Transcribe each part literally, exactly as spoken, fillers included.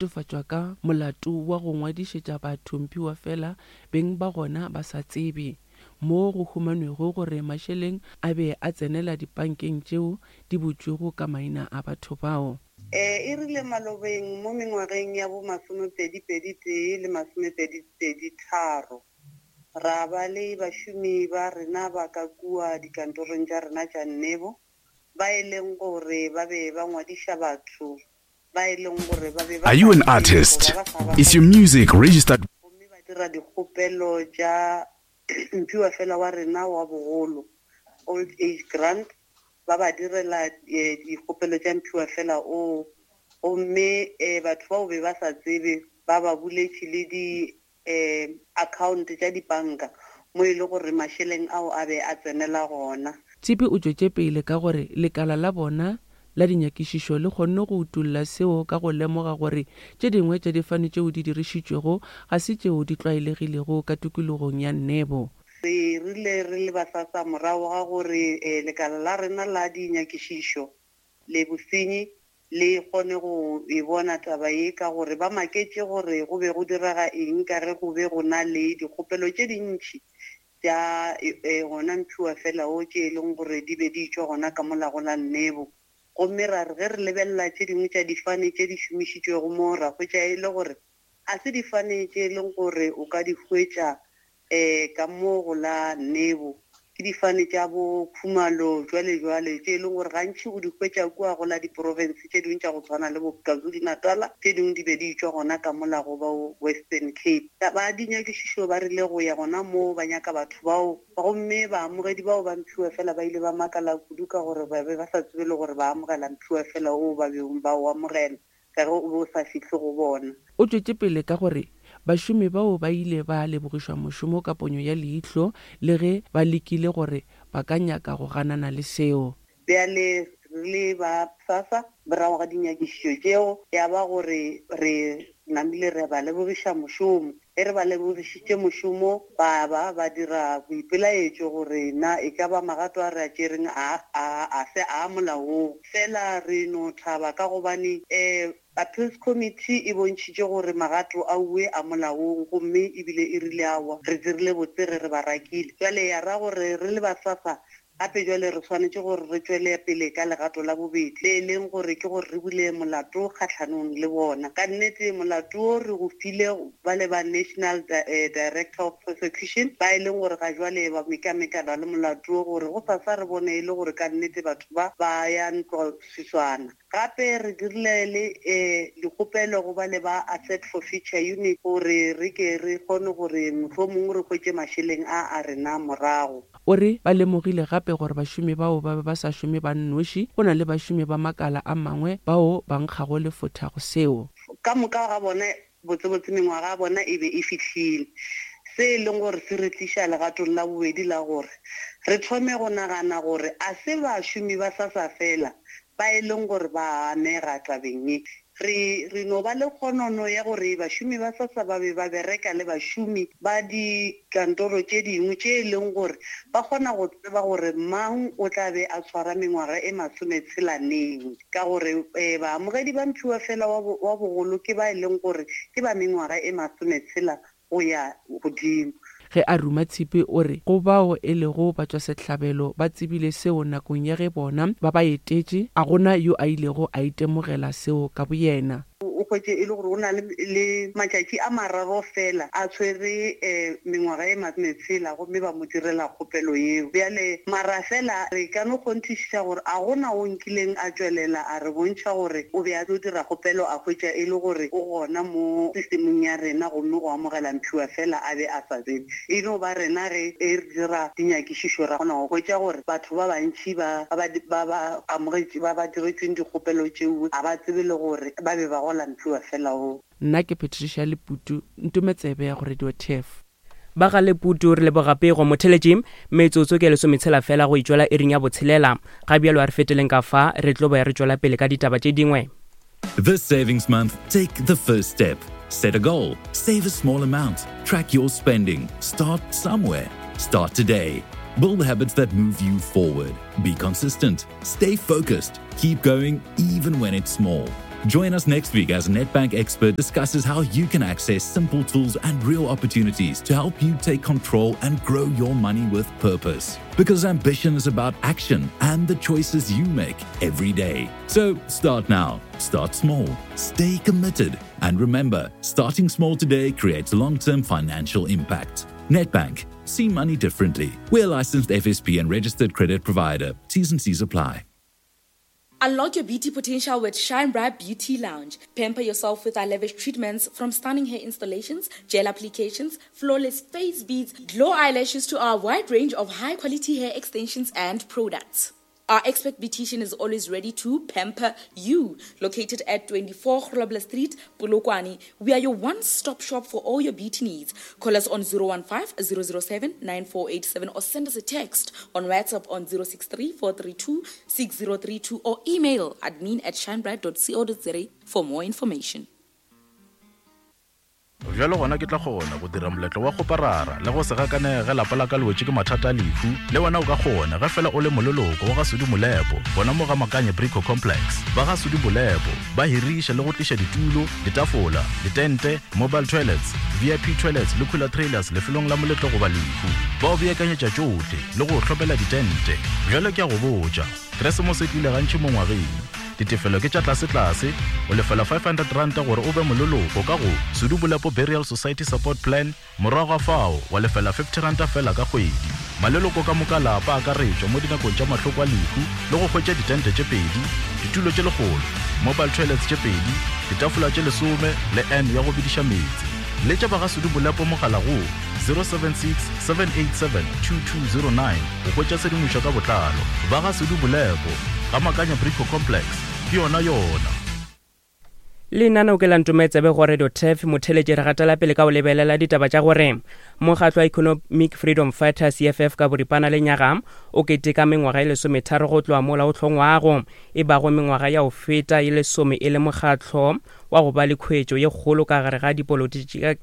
Latofatšwa ka molato wa go ngwadišetša batho mphiwafela beng ba gona ba sa tsebe, moo go humanwego gore mašeleng a be a tsenela dipankeng tšeo di butšwego ka maina a batho bao. E rile malobeng mo mengwageng ya bo masomepedi-pedi tee le masomepedi-pedi tharo, ra ba le bašomi ba rena ba ka kua dikantorong tša rena tša Nebo ba e leng gore ba be ba ngwadiša batho ba e leng gore ba be ba Are sa you an tsebe artist? goba ba sa ba Is your music registered? Gomme ba dira dikgopelo tša mphiwafela wa rena wa bogolo, old age grant, ba ba direla eh, dikgopelo tša mphiwafela oo. Gomme eh, batho bao be ba sa tsebe, ba ba buletše le di eh, account tša dipanka mo e le gore mašeleng ao a be a tsenela gona. Tshipi o tšwetše pele ka gore lekala la bona la dinyakišišo le kgonne go utolla seo ka go lemoga gore tše dingwe tša difane tšeo di dirišitšwego ga se tšeo di tlwaelegilego ka tikologong ya Nebo. Re rile re le ba SASSA morago ga gore lekala la rena la dinyakišišo le bosenyi le kgone go e bona taba ye ka gore ba maketše gore go be go direga eng ka ge go be go na le dikgopelo tše dintši tša gona mphiwafela wo tše e leng gore di be di tšwa gona ka mola go la Nebo. Gomme ra re ge re lebelela tše dingwe tša difane tše di šomišitšwego mo, ra hwetša e le gore ga se difane tše e leng gore o ka di hwetša um ka mo go la Nebo. Ke difane tša bo Khumalo jwale jwale tše e leng gore gantši o di hwetša kua go la diprofense tše dingwe tša go tshwana le bo KwaZulu-Natal, tše dingwe di be di tšwa gona ka mola go ba Western Cape. Ba dinyakišišo ba rile go ya gona moo ba nyaka batho bao, gomme baamogedi bao ba mphiwafela ba ile ba makala kudu ka gore ba be ba sa tsebe le gore ba amogela mphiwafela oo ba beng ba o amogela ka ge o be o sa fihle go bona. O tšwetše pele ka gore bašomi bao ba ile ba lebogišwa mošomo ka ponyo ya leihlo le ge ba lekile gore ba ka nyaka go ganana le seo. Bjale re le ba SASSA morago ga dinyakišišo tšeo ya ba gore re namile re ba lebogiša mošomo. Ge re ba lebogišitše mošomo ba ba ba dira boipelaetšo gore na e ka ba magato a re a tšereng a a a se a molaong. Fela re no thaba ka gobane um Appeals Committee e bontšhitše gore magato a uwe a molaong gomme ebile e rile aowa re dirile botse ge re ba rakile. Jwale ya ra gore re le ba SASSA gape jwale re swanetše gore re tšwele pele ka legato la bobedi le e leng gore ke gore re bule molato kgahlanong le bona. Ka nnete molato o re go file ba le ba National Director of Prosecution ba e leng gore ga jwale ba mekamekana le molato o gore go sasa re bone e le gore ka nnete batho ba ba ya ntloswiswana. Gape re dirile le um dikgopelo go ba le ba Asset Forfeiture Unit gore re ke re kgone gore mohlomongwe re hwetše mašeleng a a rena morago. O re ba lemogile gape gore bašomi bao ba be ba sa šome ba nnoši, go na le bašomi ba makala a mangwe bao ba nkgago lefotha go seo. Ka moka ga bona botsebotse mengwaga ya bona e be e fihlile. Se e leng gore se re tliša legatong la bobedi la gore re thome go nagana gore a se bašomi ba SASSA fela ba e leng gore ba amega tabeng ye. Re re no ba le kgonono ya gore bašomi ba SASSA ba be ba bereka le bašomi ba dikantoro tše dingwe tše e leng gore ba kgona go tseba gore mang o tla be a tshwara mengwaga e masometshela neng, ka gore um baamogedi ba mphiwafela wa bogolo ke ba e leng gore ke ba mengwaga e masometshela go ya godimo. Ge a ruma Tshipi o re go bao e lego batšwasehlabelo ba tsebile seo nakong ya ge bona ba ba etetše, a gona yo a ilego a itemogela seo ka boyena. O hwetše e le gore o na le le matšatši a mararo fela a tshwere um mengwaga e masometshela gomme ba mo direla kgopelo yeo. Bjale mara fela re ka no kgonthišiša gore a gona o nkileng a tšwelela a re bontšha gore o be a tlo dira kgopelo a hwetša e le gore o gona mo systemong ya rena gomme go amogela mphiwafela a be a sa tsebe. E no ba rena ge e re dira dinyakišišo ra kgona go hwetša gore batho ba bantši ba ba ba ba amogetše ba ba diretšweng dikgopelo tšeo ga ba tsebe le gore ba be ba gola mphiwafela oo. Nna ke Patricia Leputu, ntome tsebe ya go Radio T F. Ba ga Leputu re leboga pego motheletši, metsotso ke lesometshela fela go itšwela iring ya botshelela. Ga bjalo a re feteleng ka fa, re tlo ba re tšwela pele ka ditaba tše dingwe. This savings month, take the first step. Set a goal, save a small amount, track your spending, start somewhere. Start today. Build habits that move you forward. Be consistent, stay focused, keep going even when it's small. Join us next week as Nedbank expert discusses how you can access simple tools and real opportunities to help you take control and grow your money with purpose. Because ambition is about action and the choices you make every day. So start now, start small, stay committed, and remember, starting small today creates long term financial impact. Nedbank, see money differently. We're a licensed F S P and registered credit provider. T's and C's apply. Unlock your beauty potential with Shine Bright Beauty Lounge. Pamper yourself with our lavish treatments, from stunning hair installations, gel applications, flawless face beads, glow eyelashes to our wide range of high-quality hair extensions and products. Our expert beautician is always ready to pamper you. Located at twenty-four Grobler Street, Polokwane, we are your one-stop shop for all your beauty needs. Call us on zero one five, zero zero seven, nine four eight seven or send us a text on WhatsApp on zero six three, four three two, six zero three two or email admin at shinebright dot co dot za for more information. Bjalo gona ke tla kgona go dira moletlo wa go parara le go se gakanege ge lapa la ka le wetše ke mathata a lehu. Le wena o ka kgona ge fela o le moleloko wa ga Sudi Molepo, gona mo ga Makanye Brico Complex. Ba ga Sudi Molepo ba hiriša le go tliša ditulo, ditafola, ditente, mobile toilets, V I P toilets le cooler trailers lefelong la moletlo goba lehu. Ba o beakanyetša tšohle le go hlopela ditente. Bjalo ke a go botša, Keresemose e tlile gantši mo ngwageng. Ditefelo ke tša tlase-tlase, o lefela five hundred rand gore o be moleloko ka go Sudi Molepo Burial Society Support Plan, morago ga fao wa lefela fifty rand fela ka kgwedi. Maleloko ka moka lapa a akaretšwa mo dinakong tša mahloko a lehu le go hwetša ditente tše pedi, ditulo tše lekgolo, mobile toilets tše pedi, ditafola tše lesome le N ya go bediša meetse. Letša ba ga Sudi Molepo mogala go zero seven six, seven eight seven, two two zero nine go hwetša tshedimošo ka botlalo. Ba ga Sudi Molepo ga Makanya Brico Complex, ke yona yona. Lenaneo ke la Ntometsebe go Radio Turf, motheletše re gatela pele ka go lebelela ditaba tša gore mokgatlo wa Economic Freedom Fighters E F F ka boripana le nyaga o keteka mengwaga e lesometharo go tloga mola o hlongwago, e bago mengwaga ya go feta e lesome e le mokgatlo wa go ba le khuetšo ye kgolo ka gare ga dipolotiki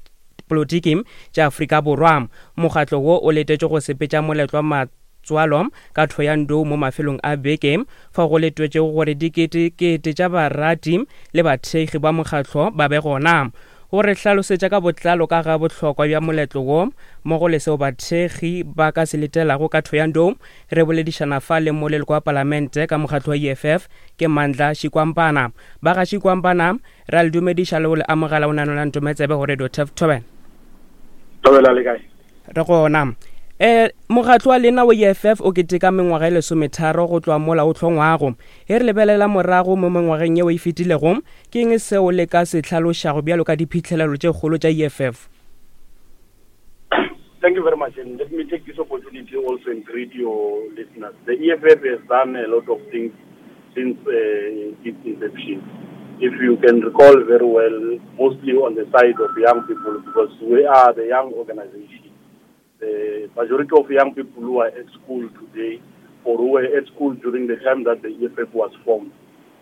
polotiki tša Afrika Borwa. Mokgatlo wo o letetše go sepetša moletlo wa matswalo ka Thohoyandou mo mafelong a beke, fa go letwetšego gore diketekete tša barati le bathekgi ba mokgatlo ba be gona. Go re hlalosetša ka botlalo ka ga bohlokwa bja moletlo wo mmogo le seo bathekgi ba ka se letelago ka Thohoyandou, re boledišana fa le moleloko wa palamente ka mokgatlo wa E F F ke Mandla Shikwampana. Ba ga Shikwampana, ra le dumediša le go le amogela o nano la Ntometsebe go Radio Turf Thobela. Thobela le kae? Re gona. Eh, mokgatlo wa lena wa E F F o keteka mengwaga e lesometharo go tloga mola o hlongwago. Ge re lebelela morago mo mengwageng yeo e fetilego, ke eng seo le ka se hlalošago bjalo ka diphihlelelo tše kgolo tša E F F? Thank you very much, and let me take this opportunity also and greet your listeners. The E F F has done a lot of things since, uh, its inception. If you can recall very well, mostly on the side of young people, because we are the young organization. The majority of young people who are at school today or who were at school during the time that the E F F was formed,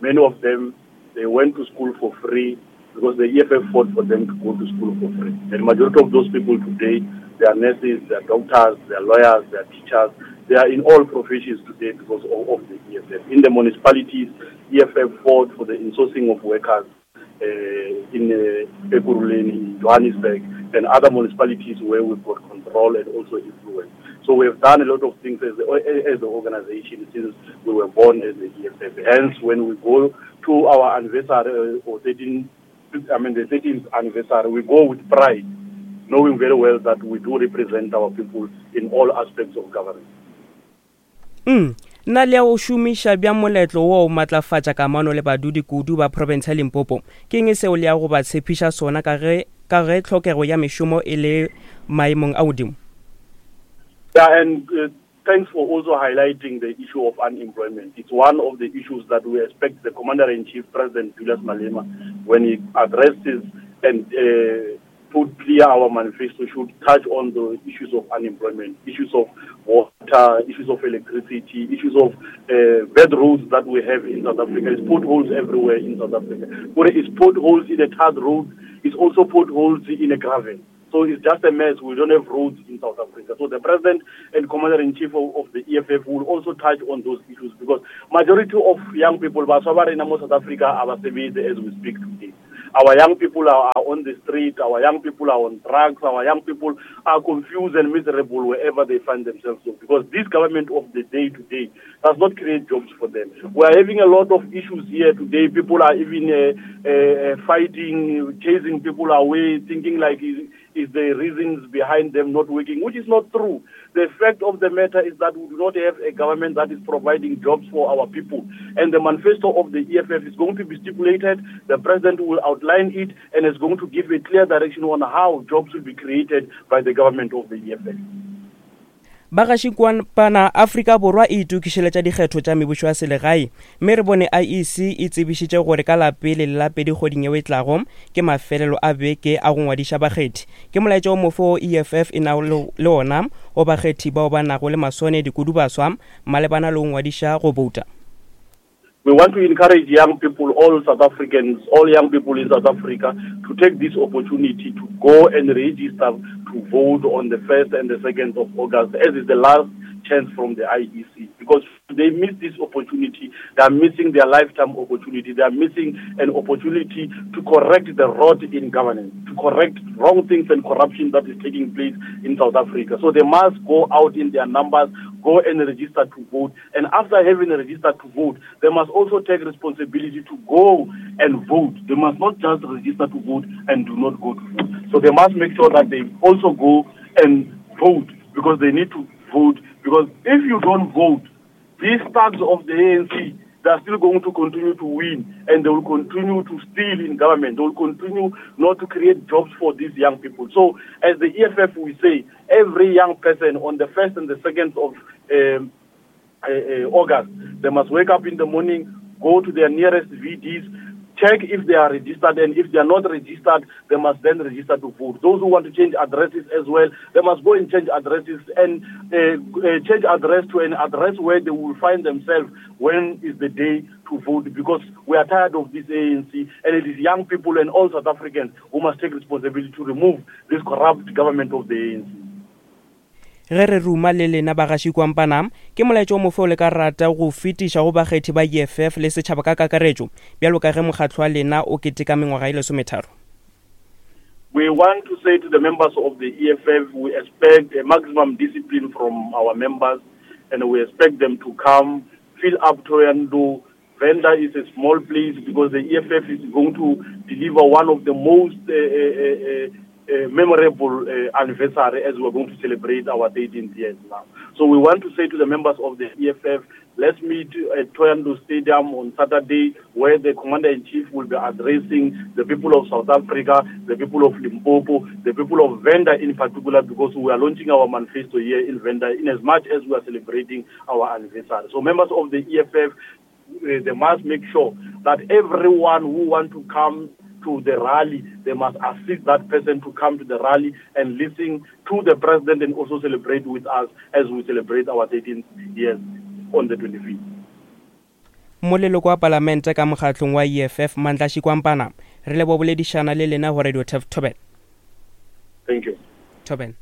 many of them, they went to school for free because the E F F fought for them to go to school for free. And the majority of those people today, they are nurses, they are doctors, they are lawyers, they are teachers. They are in all professions today because of, of the E F F. In the municipalities, E F F fought for the insourcing of workers, uh, in, uh, Ekurhuleni, in Johannesburg, and other municipalities where we've got control and also influence. So we have done a lot of things as the, as the organization since we were born as the E F F. Hence, when we go to our anniversary, or thirteen, I mean the thirteenth anniversary, we go with pride, knowing very well that we do represent our people in all aspects of government. Mm. Nna le ya go šomiša bja moletlo wo o matlafatša kamano le badudi kudu ba province ya Limpopo, ke eng seo le ya go ba tshepiša sona ka ge, ka ge tlhokego ya mešomo e le maemong a godimo? Yeah, and, uh, thanks for also highlighting the issue of unemployment. It's one of the issues that we expect the Commander-in-Chief, President Julius Malema, when he addresses and, uh, put clear our manifesto, should touch on the issues of unemployment, issues of water, issues of electricity, issues of, uh, bad roads that we have in South Africa. It's potholes everywhere in South Africa. But it's potholes in a tarred road, it's also potholes in a gravel. So it's just a mess. We don't have roads in South Africa. So the president and commander-in-chief of, of the E F F will also touch on those issues, because majority of young people, baswa ba rena mo South Africa, aba sebetse as we speak today. Our young people are, are on the street, our young people are on drugs, our young people are confused and miserable wherever they find themselves. So, because this government of the day today does not create jobs for them. We are having a lot of issues here today. People are even, uh, uh, fighting, chasing people away, thinking like is, is the reasons behind them not working, which is not true. The fact of the matter is that we do not have a government that is providing jobs for our people. And the manifesto of the E F F is going to be stipulated. The president will outline it and is going to give a clear direction on how jobs will be created by the government of the E F F. Bagašikwana Afrika Borwa e itokišeletša dikgetho tša mebušo ya selegae, mme re bone I E C e tsebišitše gore ka la pele le la pedi kgweding yeo e tlago ke mafelelo a beke a go ngwadiša bakgethi. Ke molaetša o mofe wo E F F e nago le ona o bakgethi bao ba nago le maswanedi kudu baswa malebana le go ngwadiša go bouta. We want to encourage young people, all South Africans, all young people in South Africa, to take this opportunity to go and register to vote on the first and the second of August, as is the last chance from the I E C. Because if they miss this opportunity, they are missing their lifetime opportunity. They are missing an opportunity to correct the rot in governance, to correct wrong things and corruption that is taking place in South Africa. So they must go out in their numbers, go and register to vote. And after having registered to vote, they must also take responsibility to go and vote. They must not just register to vote and do not go to vote. So they must make sure that they also go and vote, because they need to vote. Because if you don't vote, these thugs of the A N C, they are still going to continue to win, and they will continue to steal in government. They will continue not to create jobs for these young people. So as the E F F, we say, every young person on the first and the second of um, uh, uh, August, they must wake up in the morning, go to their nearest V Ds, check if they are registered, and if they are not registered, they must then register to vote. Those who want to change addresses as well, they must go and change addresses and, uh, uh, change address to an address where they will find themselves when is the day to vote, because we are tired of this A N C, and it is young people and all South Africans who must take responsibility to remove this corrupt government of the A N C. Ge re ruma le lena bagaši kwampana, ke molaetša o mofe o le ka rata go fetiša go bakgethi ba E F F le setšhaba ka kakaretšo, bjalo ka ge mokgatlo wa lena o keteka mengwaga e lesometharo? We want to say to the members of the E F F, we expect a maximum discipline from our members, and we expect them to come, fill up Thohoyandou. Venda is a small place because the E F F is going to deliver one of the most uh, uh, uh, Uh, memorable uh, anniversary as we're going to celebrate our thirteenth years now. So we want to say to the members of the E F F, let's meet at Thohoyandou Stadium on Saturday, where the Commander-in-Chief will be addressing the people of South Africa, the people of Limpopo, the people of Venda in particular, because we are launching our manifesto here in Venda in as much as we are celebrating our anniversary. So members of the E F F, uh, they must make sure that everyone who wants to come to the rally, they must assist that person to come to the rally and listen to the president and also celebrate with us as we celebrate our thirteenth years on the twenty-fifth. Moleloko wa palamente ka mokgatlong wa E F F Mandla Shikwampana, re leboha boledišana le lena go Radio Turf Thobela. Thank you. Thobela.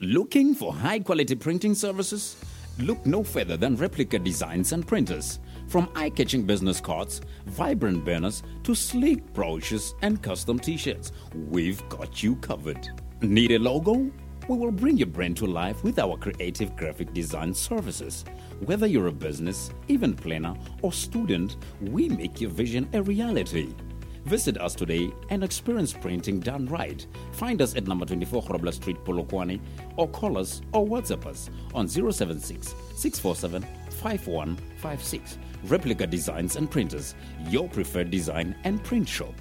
Looking for high quality printing services? Look no further than Replica Designs and Printers. From eye-catching business cards, vibrant banners, to sleek brochures and custom t-shirts, we've got you covered. Need a logo? We will bring your brand to life with our creative graphic design services. Whether you're a business, event planner, or student, we make your vision a reality. Visit us today and experience printing done right. Find us at number twenty-four Grobler Street, Polokwane, or call us or WhatsApp us on zero seven six, six four seven, five one five six. Replica Designs and Printers, your preferred design and print shop.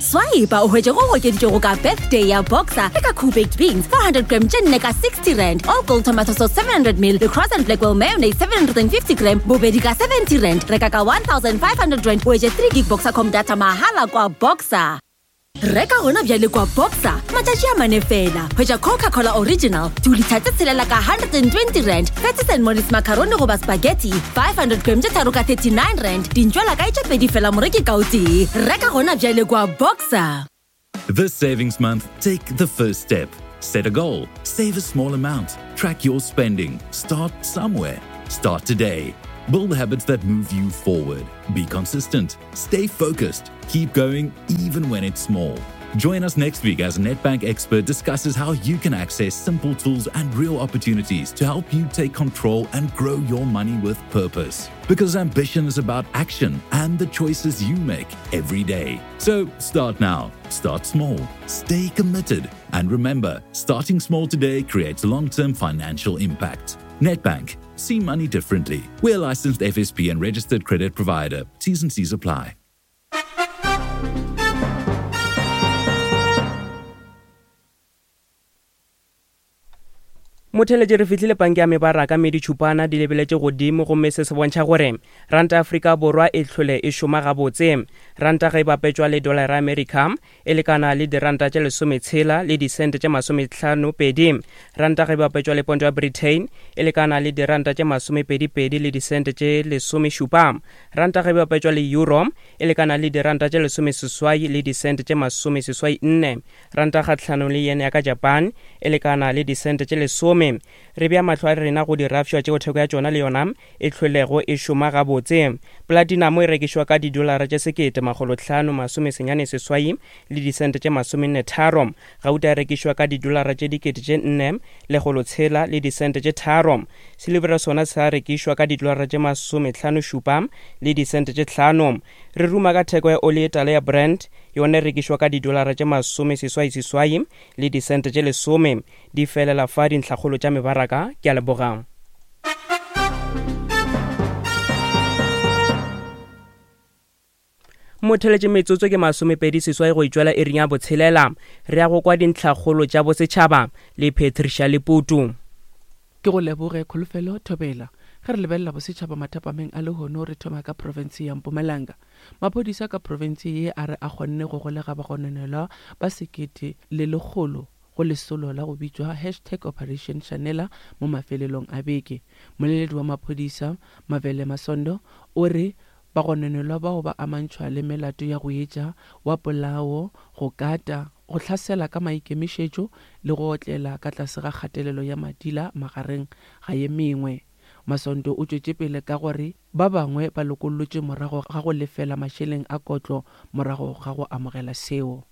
Swipe o hwetše go okeditšego ka birthday ya Boxer le ka Cool Baked Beans four hundred gram tše nne ka sixty rand, All Gold Tomato Sauce seven hundred mil le Cross and Blackwell Mayonnaise seven hundred and fifty gram bobedi ka seventy rand. Reka ka one thousand five hundred rand o hwetše three gig Boxercom data mahala kwa Boxer. Reka gona bjale kwa Boxer matšatši a mane fela. Hwetša Coca-Cola Original two litre tse tshelela ka hundred and twenty rand, Patties and Molly's macaroni goba spaghetti five hundred gram tse tharo ka thirty-nine rand, dintšwela kae tše pedi fela moreki ka o tee. Reka gona bjale kwa Boxer. This savings month, take the first step. Set a goal, save a small amount, track your spending, start somewhere. Start today. Build habits that move you forward. Be consistent. Stay focused. Keep going even when it's small. Join us next week as Nedbank Expert discusses how you can access simple tools and real opportunities to help you take control and grow your money with purpose. Because ambition is about action and the choices you make every day. So start now, start small, stay committed, and remember, starting small today creates long term financial impact. Nedbank, see money differently. We're a licensed F S P and registered credit provider. T's and C's apply. Motheletše re fihlile panke ya mebaraka mme ditšhupana di lebeletše godimo, gomme se se bontšha gore ranta Afrika Borwa e hlole e šoma gabotse. Ranta ge e bapetšwa le dollar ya Amerika e lekana le diranta tše lesometshela le disente tše masomehlano pedi. Ranta ge e bapetšwa le ponto ya Britain e lekana le diranta tše masomepedipedi le disente tše lesomešupa. Ranta ge e bapetšwa le euro e lekana le diranta tše lesomeseswai le disente tše masomeseswai nne. Ranta kgahlanong le yen ya ka Japan e lekana le disente tše lesome. Re bea mahlo a rena go dirafša tšeo theko ya tšona le yona e hlwelego e šoma gabotse. Platinum e rekišwa ka didolara tše sekete makgolo hlano masome senyane seswai le disente tše masomenne tharo. Gauta e rekišwa ka didolara tše dikete tše nne lekgolo tshela le disente tše tharo. Silver sona sa rekišwa ka didolara tše masomehlano šupa le disente tše hlano. Re ruma ka theko ya oli e tala ya Brent, yona e rekišwa ka didolara tše masome seswai seswai le disente tše lesome. Di felela fa dintlhakgolo tša mebaraka. Ke a leboga. Motheletše metsotso ke masomepedi seswai go itšwela ering ya botshelela. Re ya go kwa dintlhakgolo tša bosetšhaba le Patricia Leputu. Ke go leboge Kholofelo Thobela. Ge re lebelela bosetšhaba mathapameng a lehono, re thoma ka profense ya Mpumalanga. Maphodisa ka profense ye a re a kgonne go golega bagononelwa ba sekete le lekgolo go lesolo la go bitšwa hashtag Operation Shanela mo mafelelong a beke. Moleledi wa maphodisa Mavele Masondo o re bagononelwa bao ba amantšhwa le melato ya go etša wa polao, go kata, go hlasela ka maikemišetšo le go otlela ka tlase ga kgatelelo ya madila magareng ga ye mengwe. Masondo o tšwetše pele ka gore ba bangwe ba lokollotšwe morago ga go lefela mašeleng a kotlo morago ga go amogela seo.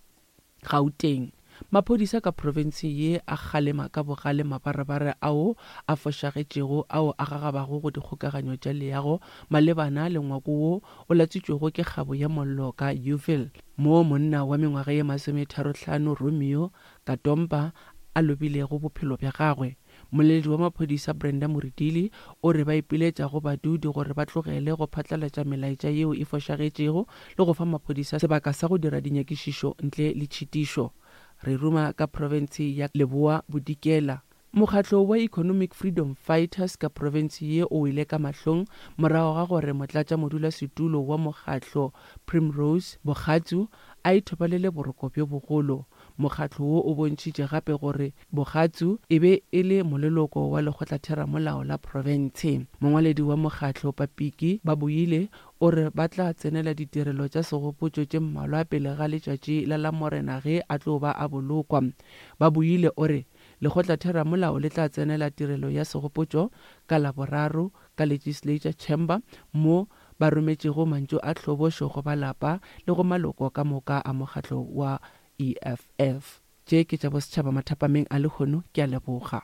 Gauteng, maphodisa ka profense ye a kgalema ka bogale mabarebare ao a fošagetšego ao a gagabago go dikgokaganyo tša leago malebana le ngwako wo o latswitšwego ke kgabo ya mollo ka Uville, moo monna wa mengwaga ye masometharo-hlano Romeo Katompa a lobilego bophelo bja gagwe. Moleledi wa maphodisa Brenda Muridili o re ba ipiletša go badudi gore ba tlogele go phatlalatša melaetša yeo e fošagetšego le go fa maphodisa sebaka sa go dira dinyakišišo ntle le tšhitišo. Re ruma ka profense ya Leboa Bodikela. Mokgatlo wa Economic Freedom Fighters ka profense ye o wele ka mahlong morago ga gore motlatšamodulasetulo wa mokgatlo Primrose Bogatsu a ithobalele boroko bjo bogolo. Mokgatlo wo o bontšhitše gape gore Bogatsu e be e le moleloko wa lekgotlatheramolao la profense. Mongwaledi wa mokgatlo Papiki Babuile o re ba tla tsenela ditirelo tša segopotšo tše mmalwa pele ga letšatši la Lamorena ge a tlo ba a bolokwa. Babuile o re lekgotlatheramolao le tla tsenela tirelo ya segopotšo ka Laboraro ka Legislature Chamber mo ba rometšego mantšu a hlobošo go ba lapa le go maloko ka moka a mokgatlo wa E F F. Tše ke tša bosetšhaba mathapameng a lehono. Ke a leboga.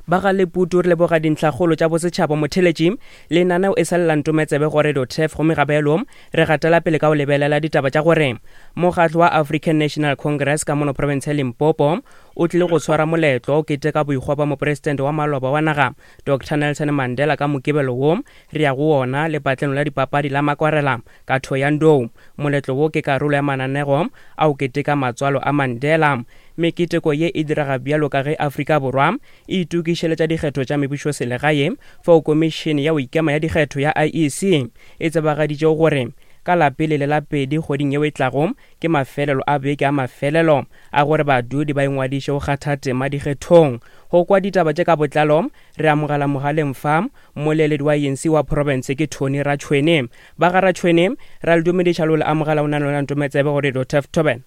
Ba ga Leputu re leboga dintlhakgolo tša bosetšhaba. Motheletši lenaneo e sa lela ntometsebe go Radio Turf, gomme gabelo re gatela pele ka go lebelela ditaba tša gore mokgatlo wa African National Congress ka mono province ya Limpopo o tlile go tshwara moletlo o keteka boikgwa ba mopresidente wa maloba wa naga Doctor Nelson Mandela ka Mokibelo wo re ya go wona lepatlelo la dipapadi la Makwarela ka Thohoyandou. Moletlo wo ke karolo ya mananego a o keteka matswalo a Mandela. Meketeko ye e direga bjalo ka ge Afrika Borwa e itokišeletša dikgetho tša mebušoselegae, fao komišene ya go ikema ya dikgetho ya I E C e tsebagaditše gore ka la pele le la pedi kgweding yeo e tlago ke mafelelo a beke a mafelelo a gore badudi ba ingwadiše go kgatha tema dikgethong. Go kwa ditaba tše ka botlalo re amogela mogaleng fa moleledi wa A N C wa province ke Tony Ratšhwene. Ba ga Ratšhwene ra le dumediša le amogela o nano la ntometsebe gore Radio Turf Thoben.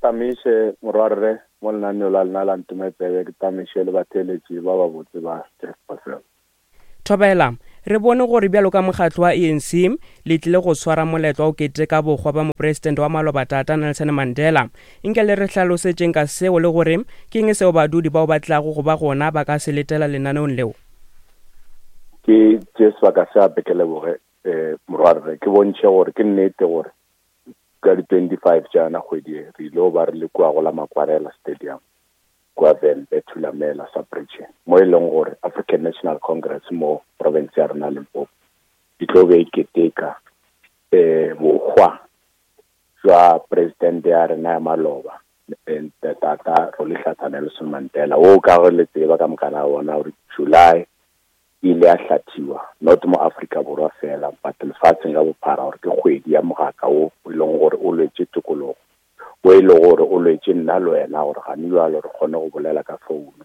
tamiše morwarre mo lenaneo la lena la Ntume Tsebe, ke tamiše le batheeletši ba babotse ba Jeff Basel. Thobela, re bone gore bjalo ka mokgatlo wa A N C le tlile go swara moletlo wa go keteka bokgwa ba mopresidente wa maloba tata Nelson Mandela. Nke le re hlalosetšeng ka seo le gore ke eng seo badudi bao ba tlago go ba gona ba ka se letela lenaneong leo? Ke tše sebaka se ape ke leboge um morwarre, ke bontšhe gore ke nnete gore ka di twenty-five tšana kgwedi e re ile go ba re le kua go la Makwarela Stadium kua Vhembe Thulamela sub-region, mo e leng gore African National Congress mo province ya rena Limpopo di tlo be e keteka um bokgwa jwa president ya rena ya maloba tata Rolihlahla Nelson Mandela, wo ka gore le tseba ka mokana bona gore July ile ya hlathiwa not mo Afrika Borwa fela but lefatsheng ka bophara gore ke kgwedi ya mogaka wo e leng gore o lwetse tokologo, o e leng gore o lwetse nna le wena gore gane jwalo re kgone go bolela ka founu,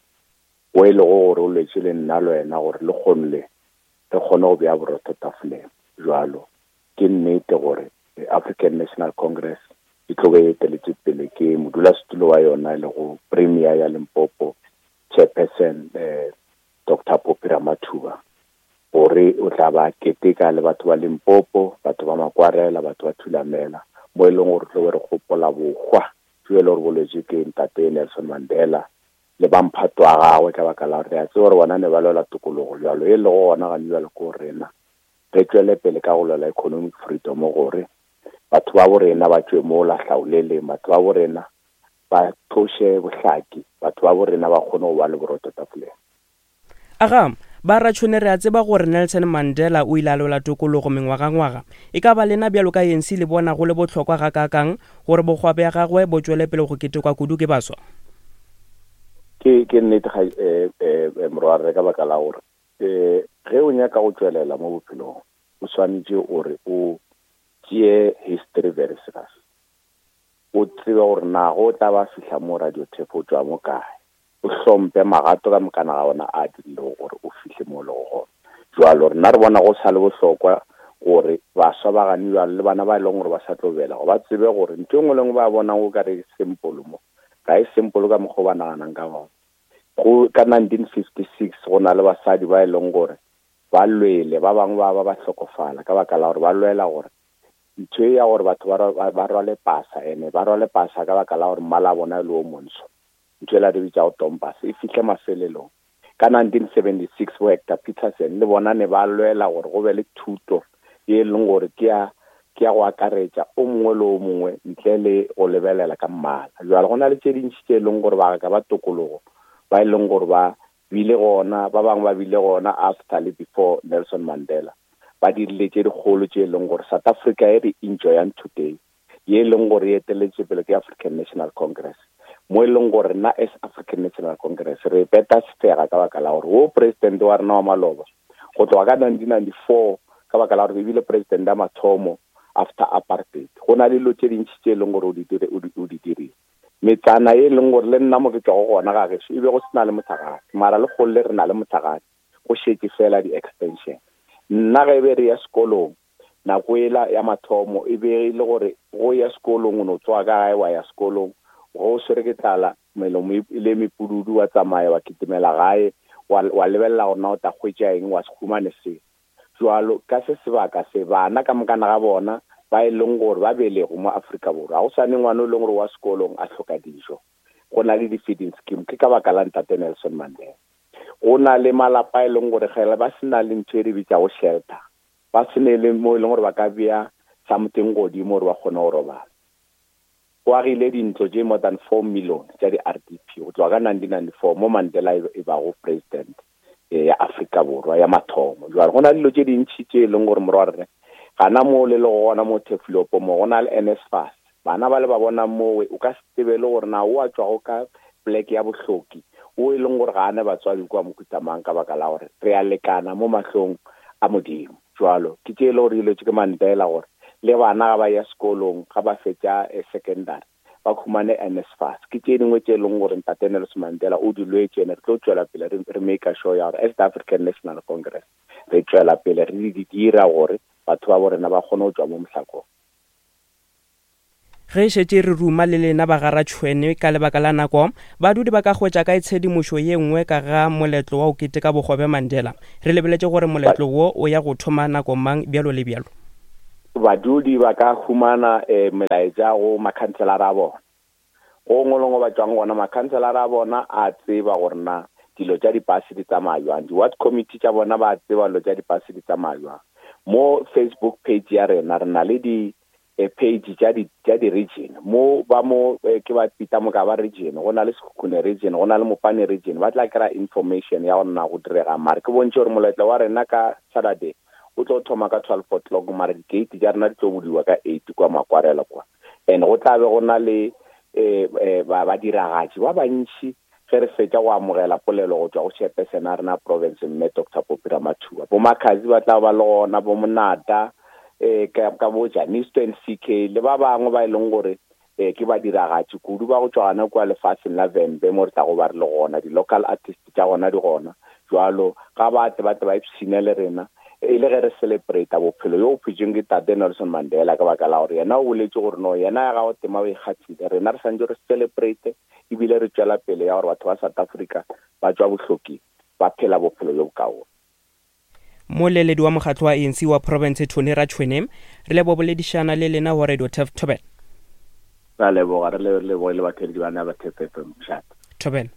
o e lego gore o lwetse le nna le wena gore le kgone le re kgone go bea borotho tafoleng. Jwalo ke nnete gore African National Congress e tlo be e eteletse pele ke modulasetulo wa yona e lego Premier ya Limpopo chairperson eh Doctor Phophi Ramathuba, gore o tla ba keteka le batho ba Limpopo, batho ba Makwarela, batho ba Thulamela, mo e leng gore tlo be re gopola bokgwa jo e le gore bolwetse ke ntate Nelson Mandela le ba mphato wa gagwe, ka baka la gore re a tseba gore bona ne ba lwela tokologo. Jwalo e lego gona gane jwalo ko rena re tšwele pele ka go lwela economic freedom gore batho ba bo rena ba tšwe mo la hlaoleleng, batho ba bo rena ba tloše bohlaki, batho ba bo rena ba kgone go ba le borotho tafoleng. Aga, ba ratšhone re a tseba gore Nelson Mandela o ile a lwela tokologo mengwagangwaga. E ka ba lena bjalo ka A N C le bona go le bohlokwa gakaakang gore bokgwa bja gagwe bo tšwele pele go ketekwa kudu ke baswa? Ke ke nnete ga eh eh morwarre, ka baka la gore eh ge o nyaka go tšwelela mo bophelong o swanetše ore o tšee history very serious, o tsebe gore na go tla ba fihla mo radio tape o tšwa mo kae, o hlomphe magato ka mokana ga ona a dirilego gore o fihle mo lego gona. Jwalo rena re bona go sa le bohlokwa gore baswa ba gane jwalo le bana ba e leng gore ba sa tlo belega ba tsebe gore ntho e nngwe le nngwe ba bonang o ka re simple mo ga e simple ka mokgwa o ba naganang ka gona. Go ka nineteen fifty-six go na le basadi ba e leng gore ba lwele, ba bangwe ba ba ba hlokofala ka baka la gore ba lwela gore ntho e ya gore batho ba ba rwale pasa, ene ba rwale pasa ka baka la gore mmala wa bona e le o montsho, ntho e la re bitsa go tompasa e fihle mafelelong. Ka nineteen seventy-six bo Hector Peterson le bona ne ba lwela gore go be le thuto ye e leng gore ke ya ke ya go akaretša o mongwe le o mongwe ntle le go lebelela ka mmala. Jwale go na le tše dintši tše e leng gore ba ka ba tokologo ba e leng gore ba bile gona, ba bangwe ba bile gona after le before Nelson Mandela, ba dirile tše dikgolo tše e leng gore South Africa e re enjoyang today, ye e leng gore e eteletse pele ke African National Congress, mo e leng gore nna as African National Congress re beta sefega ka baka la gore wo president wa rena wa maloba go tloga ka nineteen ninety-four ka baka la gore ebile president ya mathomo after apartheid, go na le dilo tše dintši tše e leng gore o di dire o di dirile. Metsana e leng gore le nna mo ke tšwago gona ga gešo e be go se na le motlakase, mara le kgole re na le motlakase, go šetše fela di-extension. Nna ge be re ya sekolong nako ela ya mathomo e be e le gore go ya sekolong o no tsoga ka gae wa ya sekolong, go swere ke tlala melomo e le mepududu wa tsamaya wa kitimela gae wa wa lebelela gore na o tla hwetša eng wa se humane se. Jwalo ka se sebaka se bana ka mokana ga bona ba e leng gore ba belego mo Afrika Borwa, ga go swane ngwana o leng gore wa sekolong a hloka dijo, go na le di-feeding scheme ke ka baka la ntate Nelson Mandela. Go na le malapa e leng gore ge ba se na le ntho e re bitsago shelter, ba se ne le mo e leng gore ba ka bea something godimo gore ba kgone go robala. Go agile dintlo tše more than four million tša di-R D P go tloga ka nineteen ninety-four mo Mandela e bago president ya Afrika Borwa ya mathomo. Jwale go na le dilo tše dintši tše e leng gore morwarre gana mo le le gona mo Turfloop mo go na le N S F A S, bana ba le ba bona mowe o ka se tsebe le gore na o a tšwago ka pleke ya bohloki o e leng gore ga a ne batswadi kwa Mokhutamang ka baka la gore re a lekana mo mahlong a Modimo. Jwalo ke tše e le gore dilo tše ke Mandela gore le bana ga ba ya sekolong ga ba fetša secondary ba khumane N S F A S, ke tše dingwe tše e leng gore ntate Nelson Mandela o di lwetse, ene re tlo tšwela pele re make sure ya gore as the African National Congress re tšwela pele re di dira gore batho ba bo rena ba kgone go tšwa mo mohlakong. Ge šetše re ruma le lena ba garatšhwene ka lebaka la nako, badudi ba ka hwetša kae tshedimošo ye nngwe ka ga moletlo wa go keteka bohwa bja Mandela? Re lebeletše gore moletlo wo o ya go thoma nako mang bjalo le bjalo. Badudi ba ka humana eh, melaetša go makhanselara a bona. Go ngwe le ngwe ba tšwang gona, makhanselara a bona a tseba gore na dilo tša dipase di tsamaya jwang. Di-ward committee tša bona ba tseba dilo tša dipase di tsamaya jwang. Mo Facebook page ya rena re na le di page tša di tša di-region mo ba mo ke ba pita mo ka ba region, go na le Sekhukhune region, go na le Mopane region, ba tla kry-a information ya gore na go direga. Mare ke bontšhe gore moletlo wa rena ka Saturday o tlo thoma ka twelve o'clock, mare di-gate tša rena di tlo budiwa ka eight kwa Makwarela kwa. And go tla be go na le eh, eh, ba badiragatši ba bantši ge re fetša go amogela polelo go tšwa go chairperson a rena province mme Doctor Popi Ramathuba. Bo Makhazi ba tla ba le gona, bo Monata, eh ka ka bo Janisto N C K le ba bangwe ba e leng gore eh ke badiragatši kudu ba go tšwa gona kwa lefatsheng la Vhembe mo re tla go ba re le gona, di-local artist tša gona di gona. Jwalo ga ba tle ba tle ba ipshine le rena e le ge re celebrate bophelo yo phetšeng ke tate Nelson Mandela, ka baka la gore yena o boletse gore no yena ya gago tema o ikgathile, rena re santse re celebrate ebile re tšwela pele ya gore batho ba South Africa ba tšwa bohloki ba phela bophelo bjo bokaone. Moleledi wa mokgatlo wa A N C wa province Tony Ratšhwene, re lebo boledišana le lena go Radio Turf Thobela. Ra leboga, re leboge le batheeletši ba na ba Turf F M. Thobela.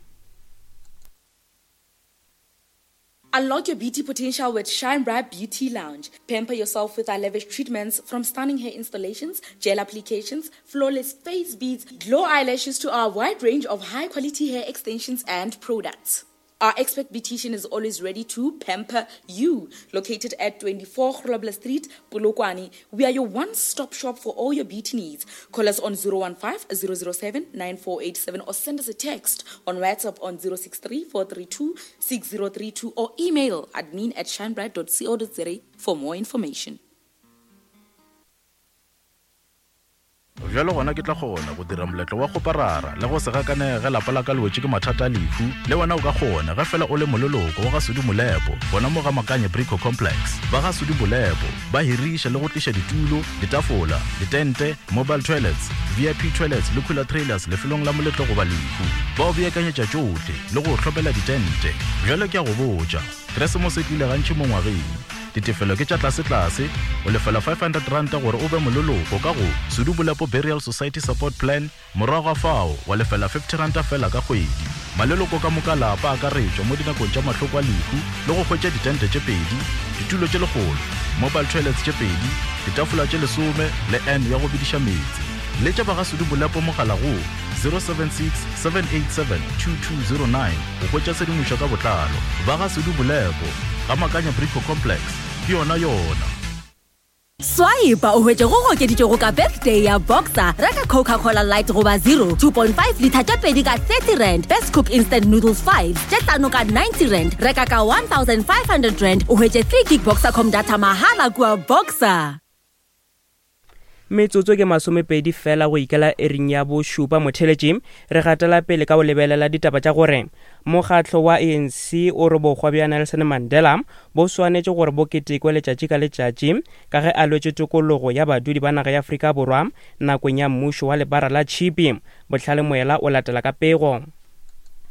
Unlock your beauty potential with Shine Bright Beauty Lounge. Pamper yourself with our lavish treatments, from stunning hair installations, gel applications, flawless face beads, glow eyelashes to our wide range of high-quality hair extensions and products. Our expert beautician is always ready to pamper you. Located at twenty-four Grobler Street, Polokwane, we are your one-stop shop for all your beauty needs. Call us on zero one five, zero zero seven, nine four eight seven or send us a text on WhatsApp on zero six three, four three two, six zero three two or email admin at shinebright dot co dot za for more information. Bjalo gona ke tla kgona go dira moletlo wa go parara le go se gakanege lapa la ka le wetše ke mathata a lehu. Le wena o ka kgona ge fela o le moleloko wa ga Sudi Molepo gona mo ga Makanye Brico Complex. Ba ga Sudi Molepo ba hiriša le go tliša ditulo, ditafola, ditente, mobile toilets, V I P toilets le cooler trailers lefelong la moletlo goba lehu. Ba o beakanyetša tšohle le go hlopela ditente. Bjalo ke a go botša, Keresemose e tlile gantši mo ngwageng. Ditefelo ke tša tlase-tlase, o lefela five hundred rand gore o be moleloko ka go Sudi Molepo Burial Society Support Plan, morago ga fao wa lefela fifty rand fela ka kgwedi. Maleloko ka moka lapa akaretšwa mo dinakong tša mahloko a lehu le go hwetša ditente tše pedi, ditulo tše lekgolo, mobile toilets tše pedi, ditafola tše lesome le N ya go bidiša meetse. Letša ba ga Sudi Molepo mogala go zero seven six, seven eight seven, two two zero nine go hwetša tshedimošo ka botlalo. Ba ga Sudi Molepo ga Makanya Brico Complex, ke yona yona. Swipe o hwetše go okeditšego ka birthday ya Boxer. Reka Coca-Cola Light goba zero, two point five litre tše pedi ka thirty rand. Best Cook Instant Noodles five tše hlano ka ninety rand. Reka ka one thousand five hundred rand o hwetše three gig Boxercom data mahala kua Boxer. Metsotso ke masomepedi fela go ikela ering ya bošupa motheletši. Re gatela pele ka go lebelela ditaba tša gore mokgatlo wa A N C o re bohwa bja Nelson Mandela bo swanetše gore bo ketekwe letšatši ka letšatši ka ge a lwetše tokologo ya badudi ba naga ya Afrika Borwa nakong ya mmušo wa lebara la tšhipi. Bohlale Moela o latela ka pego.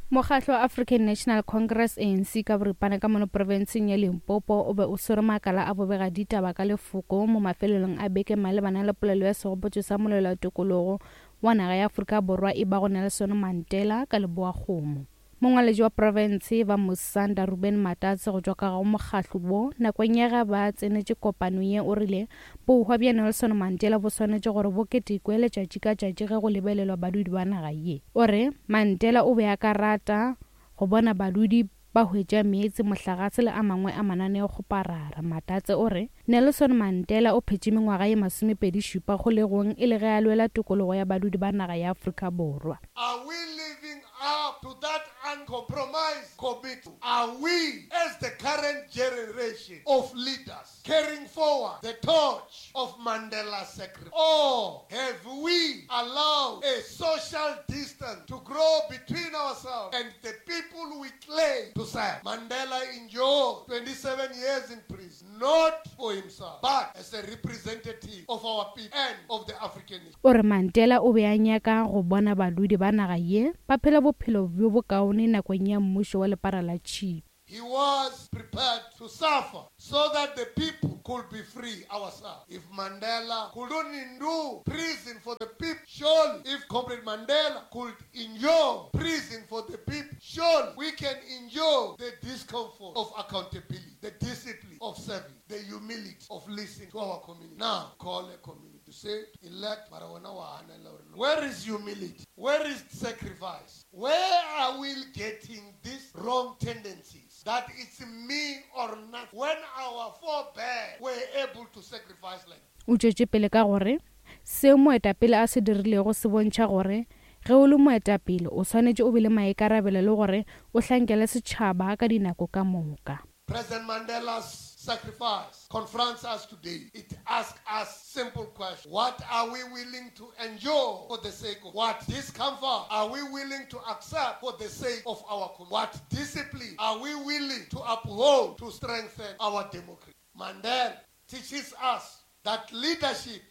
Mokgatlo wa African National Congress A N C ka boripana ka mono profenseng ya Limpopo o be o swere makala a bobega ditaba ka lefoko mo mafelelong a beke malebana le polelo ya segopotšo sa molelo wa tokologo wa naga ya Afrika Borwa e bago Nelson Mandela ka Leboa-Kgomo. Mongwaledi wa profense ba Musanda Ruben Matatse go tšwa ka go mokgatlo wo nakong ya ge ba tsenetše kopano ye o rile bohwa bja Nelson Mandela bo swanetše gore bo ketekwe letšatši ka tšatši ge go lebelelwa badudi ba naga ye. O re Mandela o be a ka rata go bona badudi ba hwetša meetse, mohlagase le a mangwe a mananeo kgoparara. Matatse o re Nelson Mandela o phetše mengwaga ye masomepedi šupa kgolegong e le ge a lwela tokologo ya badudi ba naga ya Afrika Borwa. Are we living up to that uncompromised commitment? Are we, as the current generation of leaders, carrying forward the torch of Mandela's sacrifice? Or have we allowed a social distance distance to grow between ourselves and the people we claim to serve. Mandela endured twenty-seven years in prison, not for himself, but as a representative of our people and of the African nation. O re Mandela o be a nyaka go bona badudi ba naga ye ba phela bophelo bjo bokaone nakong ya mmušo wa lepara la tšhipi. He was prepared to suffer so that the people could be free ourselves. If Mandela couldn't endure prison for the people, surely if Comrade Mandela could endure prison for the people, surely we can endure the discomfort of accountability, the discipline of service, the humility of listening to our community. Now, call a community to say, elect Marawana wa hanela or no. Where is humility? Where is sacrifice? Where are we getting these wrong tendencies? That it's me or nothing. When our forebears were able to sacrifice like that. O tšwetše pele ka gore seo moetapele a se dirilego se bontšha gore ge o le moetapele o swanetše o be le maikarabelo le gore o hlankele setšhaba ka dinako ka moka. President Mandela's sacrifice confronts us today. It asks us simple questions. What are we willing to endure for the sake of? What discomfort are we willing to accept for the sake of our community? What discipline are we willing to uphold to strengthen our democracy? Mandela teaches us that leadership